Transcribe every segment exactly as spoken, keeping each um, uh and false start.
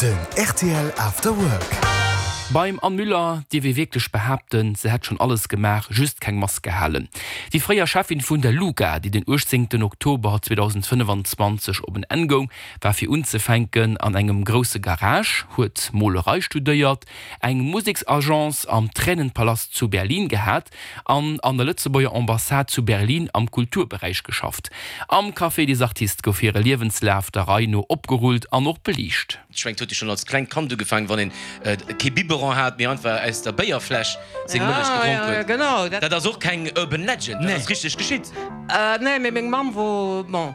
Den rtl After Work. Beim Anne Müller dierf ee wierklech behaapten, se hätt schonn alles gemaach, just keng Mass gehalen. Déi fréier Cheffin vun der LUGA, déi den uechtzéngten Oktober zweedausendfënnefanzwanzeg op en Enn goung, war fir unzefänken an engem grousse Garage, huet Molerei studéiert, eng Museksagence am Tränenpalast zu Berlin gehat an an der Lëtzebuerger Ambassade zu Berlin am Kulturberäich geschafft. Am Café des Artistes gouf hire Liewenslaf der Rei no opgerullt an och beliicht. Ech mengen, et huet jo schonn als klengt Kand ugefaangen, wann een kee Biberon hat, mee einfach aus der Béierfläsch seng Mëllech gedronk huet. Dat ass och keng Urban Legend, dat ass richteg geschitt. Nee, mee meng Mamm wor, bon,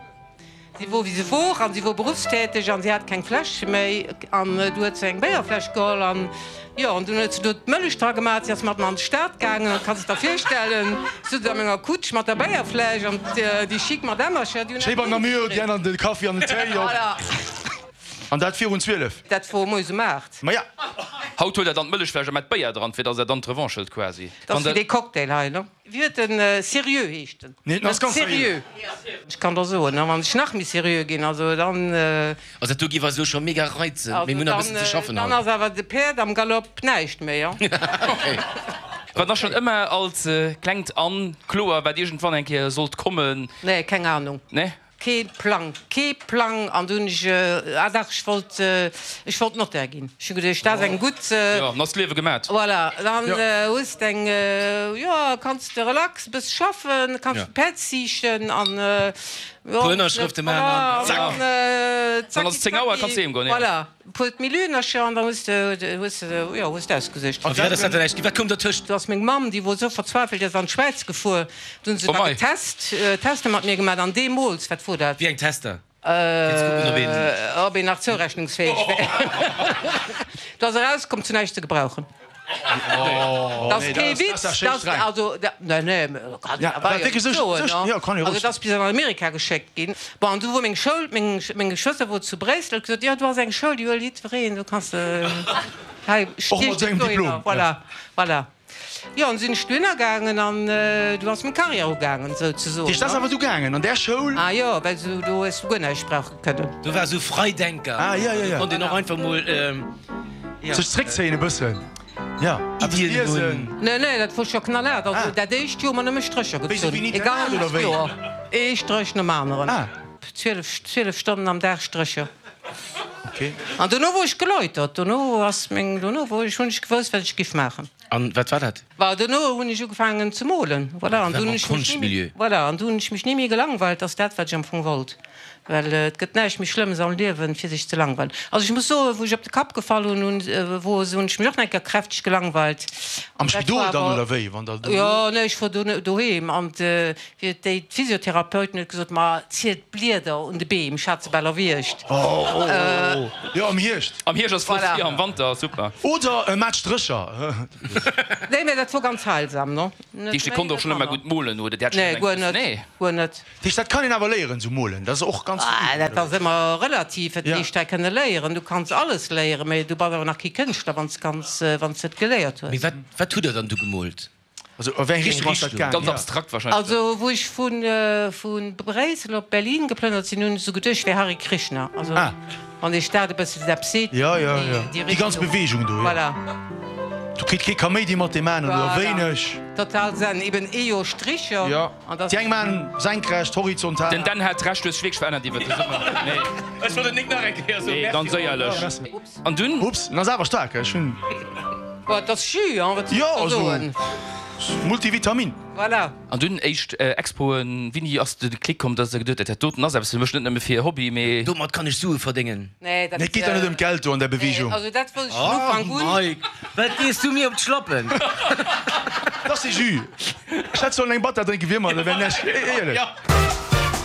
si wor wéi se wor an si wor beruffstäteg an si hat keng Fläsch méi an du huet se eng Béierfläsch geholl an, jo, an dunn huet se do d'Mëllech dra gemaat. Si ass mat mer an d'Stad gaangen an kanns et der virstellen, sot se a menger Kutsch mat der Béierfläsch an déi chic Madammercher, déi hunn Schéi dat beim Namur, déi aner de Kaffi an den Téi op. Voilà. An dat virun zwielef? Dat wor moies um aacht. Maja. Haut huelt der dann d'Mëllechfläsch a mat Béier dran, fir dass der dann d'Revanche hëlt quasi. Dat ass wéi dee Cocktail hei, ne? Wéi huet en? Sérieux heescht en. Nee, en ass ganz seriö. Ech kann der soen, wann ech nach méi seriö ginn, also dann. Also dat do géif eis elo scho mega reizen, mee mir hunn nach e bëssen ze schaffen haut. Dann ass awer de Päerd am Galopp näischt méi, jo. Okay. War da schonn ëmmer als klengt Anne kloer, wat iergendwann eng Kéier sollt kommen? Nee, keng Ahnung. Nee? Kee Plang, kee Plang! An du hunn ech, ah dach, ech wollt, ech wollt Notaire ginn. Ech hu geduecht, dat ass eng gutt. Jo, dann ass d'Liewe gemat. Voilà, dann hues de eng, jo, kanns de relax e bësse schaffen, kanns d'Päerd ziichten an, jo. Puer Ënnerschrëfte maachen an zack. Dann ass et zéng Auer, kanns heem goen, jo. Voilà. Puer Millionercher an dann hues de, hues de, jo, hues de ausgesuergt. A firwat ass dat dann näischt ginn? Wat koum dertëscht? Do ass meng Mamm, déi wor esou verzweifelt, déi ass an d'Schwäiz gefuer. Do hunn se Oh da mei. getest, Tester mat mir gemaat an deemools, wat wor dat? Wéi eng Tester? Fir ze kucken, ob een. Ob een nach zourechnungsfäeg wär. Do ass erauskomm, zu näischt ze gebrauchen. Dat ass kee Witz, dat also, nee, nee, kann een awer jo net soen, ne? Also, dat ass bis an Amerika geschéckt ginn. Bon, an du wor meng Schoul, meng, meng Geschwëster wor zu Bréissel, huet gesot, jo, do ass eng Schoul, déi huelt jiddwereen, do kanns de hei stiech dech dohinner. Voilà, voilà. Jo, an sinn ech dohinner gaangen an du ass meng Carrière ugaangen, souzesoen. Dat ass awer du gaangen an där Schoul? Ah jo, well du do hues du guer näischt brauche kënnen. Do war sou Freidenker, do konnt een och einfach mol. Sech zréckzéien e bëssen, jo, eppes liesen. Nee, nee, dat wor scho knallhaart. Also dat éischt Joer hu mer nëmme Strécher gezunn, e ganzt Joer, ee Stréch nom aneren, zwielef, zwielef Stonnen am Dag Strécher. An dono wor ech geläutert, dono ass meng, dono wor ech, hunn ech gewousst, wat ech giff maachen. An wat war dat? Bah, dono hunn ech ugefaangen ze molen, voilà, an du hunn ech mech ni méi, voilà, an du hunn ech mech ni méi gelangweilt, ass dat wat ech am Fong wollt, well et gëtt näischt méi Schlëmmes am Liewen fir sech ze langweilen. Also ech muss soen, wou ech op de Kapp gefall hunn, hunn, wor, hunn ech mech och nach eng Kéier kräfteg gelangweilt. Am Spidol dann oder wéi, wann der do? Jo, nee, ech wor do doheem an fir déi d'Physiotherapeuten huet gesot, ma zielt d'Blieder un de Beem, ech hat se bal erwiergt. Oh, jo, am Hierscht. Am Hierscht ass flott, jo, am Wanter super. Oder mat Strécher. Nee, mä dat wor ganz heilsam, no? Net méi, konnt och net schon ëmmer manner. gutt molen, oder? Dir hat schon Nee, ëmmer guer eng net, Nee. guer net. Dat heescht, dat kann een awer léieren, sou molen, dat ass och ganz Ah, dat ass ëmmer relativ, wat Ja. heescht dat kënne léieren? Du kanns alles léieren, mä du bass awer nach kee Kënschtler, wann s kanns, wann s net geléiert hues. Mee wat, wat hutt Der dann du gemoolt? Also a wéi eng Richtung ass dat gaang? Ganz abstrakt wahrscheinlech. Also wou ech vu vu Bréissel op Berlin geplënnert sinn, hunn ech esou geduecht, ech wär Hare Krishna. Also wann Iech dat e bësse eppes seet, Ja, ja, ja. déi Déi ganz Richtung. Bewegung do, jo. Voilà. Do kritt kee Kaméidi mat deem aneren, oder Voilà. wéineg. Total Zen. Eben ee jo Stricher Ja. an da. Déi eng maan senkrecht, horizontal. Den Dan hat Recht, du hues dech wierklech verännert iwwert de Summer. Nee. Ech wollt et nik nach eng Kéier soen. Nee, ganz éierlech. Merci. An dunn? Ups, en ass awer staark, ech hunn. Boah, et ass Jus, hein, wat soll Jo, ech da also soen? Multivitamin. Voilà. An dunn éischt Expoen. Wéini ass de Klick komm, dass der geduet huet, dat doten ass eppes fir mech, net nëmme fir Hobby, mee. Domat kann ech Sue verdéngen? Nee, dat. Nee, et geet der net ëm d'Geld do an der Beweegung. Nee, also dat wollt ech vun Ufank un. Oh Mike, wat gees du mir op d'Schlappen? Dat ass de Jus. Ech hätt sollen eng Batter drénken, wier mer, dat wär näischt, éierlech.